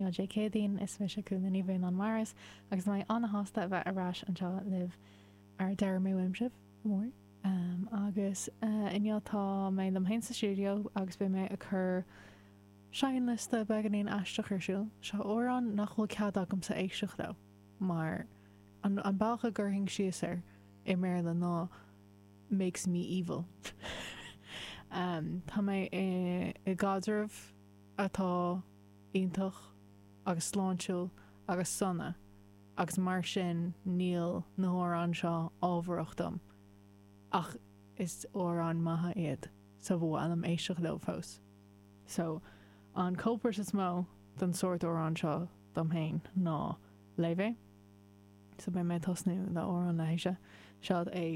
lá Dé Céadaoin. Is mise Cúnla Ní Bhuanáin Mairis agus tá mé ana-shásta a bheith ar ais anseo libh mar a deirim uaim sibh go mór. Agus inniu tá mé liom féin sa stiúideo agus beidh mé ag cur seinnliosta beagáinín aisteach ar siúl. Seo amhráin nach bhfuil cead agamsa éisteacht leo mar an bealach a gcuirfinn síos air i mBéarla ná makes me evil. Tá mé i gcaidreamh atá iontach agus sláintiúil agus sona agus mar sin níl na hamhráin seo ábharach dom ach is amhráin maithe iad so ba mhaith liom éisteacht leo fós. So an culprit is mó don sórt amhrán seo dom féin ná Laufey. So beidh mé ag tosnú le amhrán léise. Seo é.